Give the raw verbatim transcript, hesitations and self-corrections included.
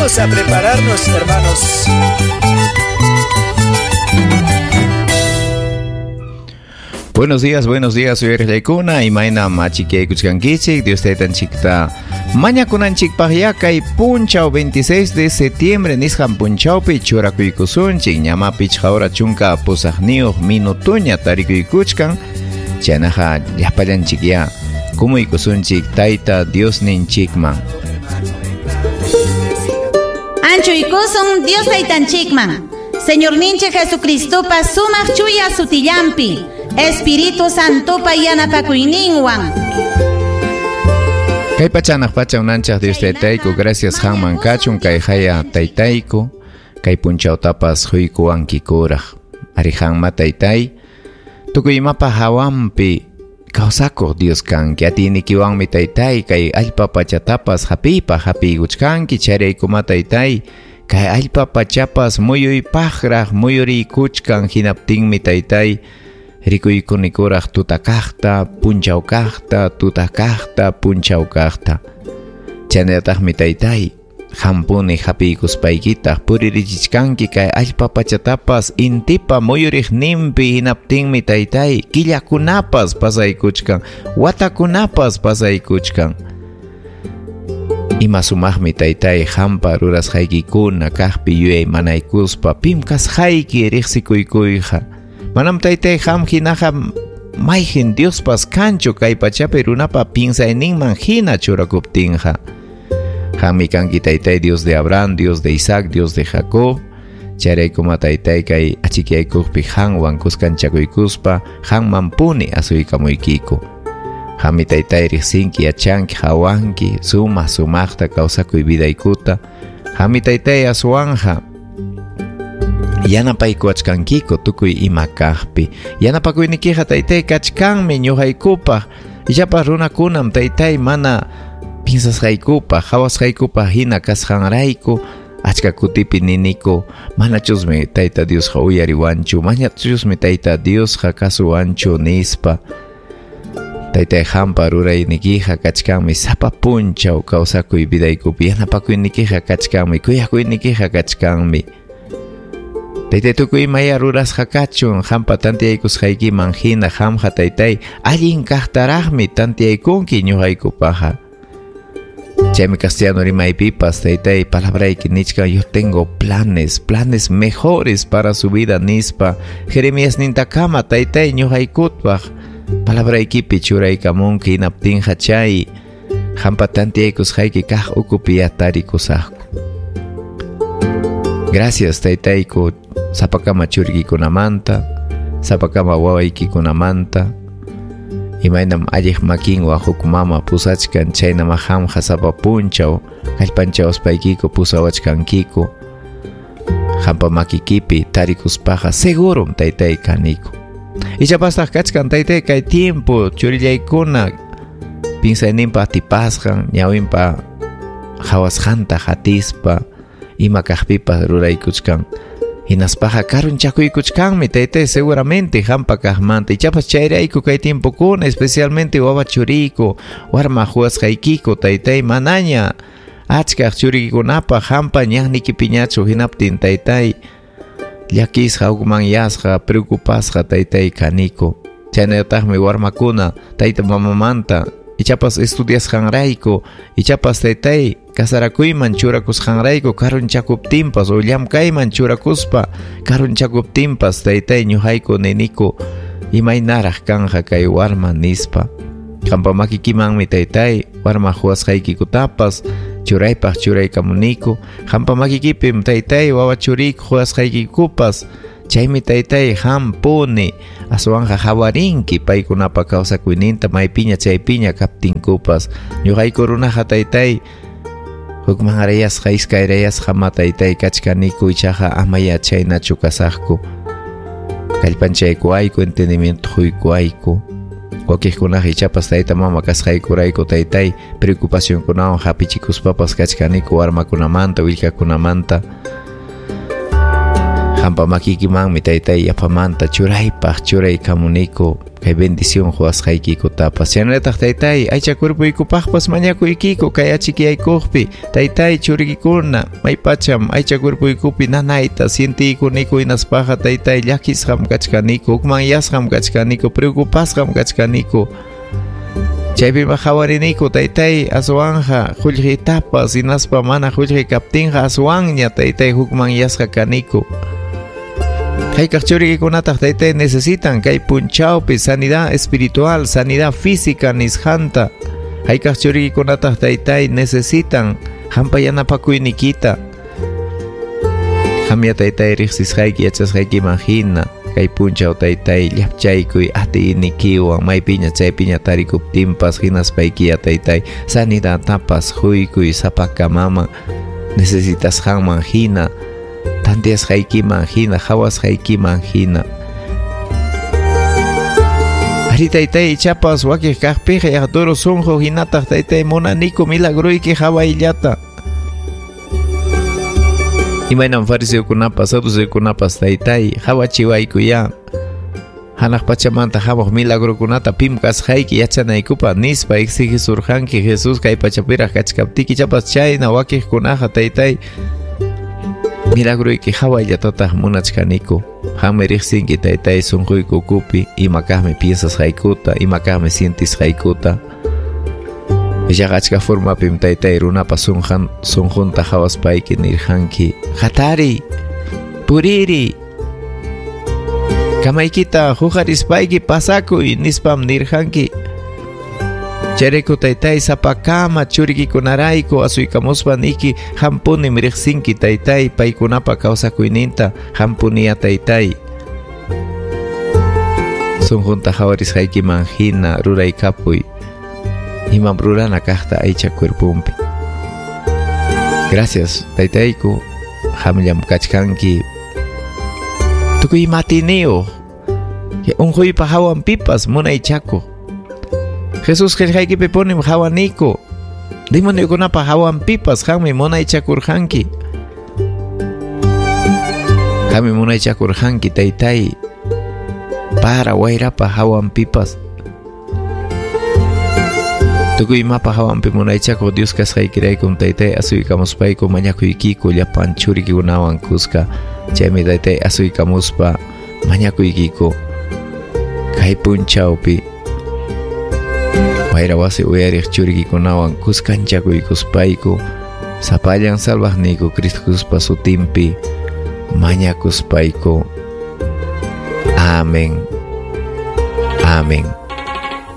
Vamos a prepararnos, hermanos. Buenos días, buenos días, soy Erlaykuna, imayna machikaykuchkankichik, Dios taytanchikta mañakunanchikpaq kay punchaw veintiséis de septiembre nisqan punchawpi churakuykusunchik, ñama pichqa hora chunka pusaqniyuq minutuña tarikuykuchkan, chaynaqa llapallanchikya kumuykusunchik tayta Diosninchikman. Anchuykusun Dios taytanchikman, Señorninchik Jesucristopa sumaq chuya sutillampi, Espíritu Santopa yanapakuyninwan. Kay pachanaq pacha unanchaq Dios taytayku, gracias hanman kachun kay haya taytayku, kay punchawtapas huykuwankikuraq. Ari hanma taytay, tukuy imapa hawanpi kawsakuq Dios kanki, atiynikiwanmi taytay, kay allpa pachatapas hapiypa hapiykuchkanki, chayraykuma taytay, kay allpa pachapas muyuypaqraq muyuriykuchkan, hinaptinmi taytay, rikuykunikuraq tutakaqta, punchawkaqta, tutakaqta, punchawkaqta. Chaynallataqmi taytay, hampuni hapiykuspaykitaq puririchichkanki kay allpa pachatapas intipa muyuriqninpi, hinaptinmi taytay, killakunapas pasaykuchkan, watakunapas pasaykuchkan. Ima sumaqmi taytay hampa rurasqaykikuna kaqpi yuyaymanaykuspa pim kasqayki riqsikuykuyqa. Manam taytay ham hinaqa mayqin Diospas kanchu kay pachapi runapa pinsayninman hina churakuptinqa. Hammi kanki taytay Dios de Abraham, Dios de Isaac, Dios de Jacob. Chayraykuma taytay kay achikaykuqpi hanwan kuskanchakuykuspa hanmanpuni asuykamuykiku. Hammi taytay riqsinki, yachanki, hawanki, sumaq sumaqta kawsakuy vidaykuta. Hammi taytay aswanja yanapaykuwachkankiku tukuy ima kaqpi. Yanapakuynikiqa taytay kachkanmi ñuqaykupaq. Ichapas runakunam taytay mana pinsasqaykupaq, hawasqaykupaq hina kasqanrayku achka kutipi niniku, manachusmi tayta Diosqa uyariwanchu, manachusmi tayta Diosqa kasuwanchu nispa. Taytay hampa ruraynikiqa kachkanmi sapa punchaw kawsakuy vidaykupi, yanapakuynikiqa kachkanmi, kuyakuynikiqa kachkanmi. Taytay tukuy imaya rurasqa kachun, hampa tantiyaykusqaykiman hina hamqa taytay allin kaqtaraqmi tantiyaykunki ñuqaykupaqa. Chaymi castellano rimaypipas taytay palabrayki nichkan, yo tengo planes, planes mejores para su vida nispa. Jeremías nintakama taytay ñuqaykutpaq palabraykipi churaykamunki, hinaptinqa chay hampa tantiyaykusqayki kaq ukupi yatarikusaqku. Gracias taytayku sapakama churikikunamanta, sapakama wawaykikunamanta. Imaynam alliq makinwan huk mama pusachkan, chaynama hamqa sapa punchaw kallpanchawaspaykiko pusawachkankiku. Hampa makikipi tarikuspaqa segurum taytay kaniku. Ichapastaq kachkan taytay kay tiempo churillaykuna pinsayninpa atipasqan, ñawinpa hawasqanta hatispa ima kaqpipas ruraykuchkan. Hinaspaqa karunchakuykuchkanmi taytay seguramente hampa kaqmanta. Ichapas chayrayku kay tiempokuna, especialmente wawa churiyku, warma huwasqaykiku taytay manaña achkaq churikikunapaq hampa ñannikipiñachu, hinaptin taytay llakisqa, hukmanyasqa, preocupasqa taytay kaniku. Chaynallataqmi warmakuna tayta mamamanta ichapas estudiasqanrayku, ichapas taytay kasarakuyman churakusqanrayku karunchakuptinpas o llamkayman churakuspa karunchakuptinpas taytay ñuqayku niniku imaynaraq kanja kay warma nispa. Hampa makikimanmi taytay warma huwasqaykikutapas churaypaq churaykamuniku. Hampa makikipim taytay wawa churiyku huwasqaykikupas. Chaymi taytay hampuni aswanja hawarinki paykunapa kawsakuyninta maypiña chaypiña kaptinkupas. Ñuqayku runaqa taytay hukmanrayasqa iskayrayasqa ma taytay kachkaniku, ichaqa amaya chaynachu kasaqku. Kallpanchaykuayku, entendimiento huykuayku. Wakiqkunaqa ichapas tayta mama kasqaykurayku taytay preocupacionkunawan hapichikuspapas kachkaniku warmakunamanta, willkakunamanta. Qampa makikimanmi taytay yapamanta churaypaq churaykamuniku kay bendición quwasqaykikutapas. Chaynallataq taytay aycha cuerpoykupaqpas mañakuykiku kay achikiyaykuqpi taytay churikikuna maypacham aycha cuerpoykupi nanayta sientiykuniku hinaspaqa taytay llakisqam kachkaniku, hukmanyasqam kachkaniku, preocupasqam kachkaniku. Chaypi qhawariniku taytay aswanja qullqitapas hinaspa mana qullqi kaptinqa aswanña taytay hukmanyasqa kaniku. Haykaq churikikunataq taytay necesitan kay punchawpi sanidad espiritual, sanidad física nisqanta. Haykaq churikikunataq taytay necesitan hampa yanapakuynikita. Qamya taytay riqsisqayki yachasqaykiman hina kay punchaw taytay llapchaykuy atiynikiwan maypiña chaypiña tarikuptinpas hinaspaykiya taytay sanidadtapas huykuy sapakamaman necesitasqanman hina, tanteasqaykiman hina, qhawasqaykiman hina. Ari taytay ichapas wakiq kaqpiqa yaqturu sunqu hinataq taytay munaniku milagruyki qhawayllata. Imaynam fariseokunapas saduceokunapas taytay qhawachiwaykuya hanaq pachamanta hamuq milagrokunata pim kasqayki yachanaykupaq nispa exigisurqanki Jesús kay pachapiraq kachkaptiki ichapas chayna wakiqkunaqa taytay milagroyki qhawallatataq munachkaniku. Qammi riqsinki taytay sunquyku ukupi ima kaqmi piensasqaykuta, ima kaqmi sientisqaykuta. Ichaqa achka formapim taytay runapa sunqan sunqunta qhawaspayki nirqanki hatariy, puririy, kamaykita huqarispayki pasakuy nispam nirqanki. Chayrayku taytay sapakama churikikunarayku asuykamuspa niki hampunim riqsinki taytay paykunapa kawsakuyninta hampuniya taytay. Sunqunta qhawarisqaykiman hina ruraykapuy imam rurana kaqta aycha cuerpumpi. Gracias taytayku, qamllam kachkanki tukuy imatiniyuq unquypa hawanpipas munaychakuq. Jesús qillqaykipi punim qhawaniku demoniokunapa hawanpipas qammi munaychakurqanki. Qammi munaychakurqanki taytay para wayrapa hawanpipas. Tukuy imapa hawanpi munaychakuq Dios kasqaykiraykum taytay asuykamuspayku mañakuykiku llapan churikikunawan kuska. Chaymi taytay asuykamuspa mañakuykiku kay punchawpi wayra wasi uyariq churikikunawan kuskanchakuykuspayku sapallan salvaqniyku Cristo Jesuspa sutinpi mañakuspayku. Amén. Amén.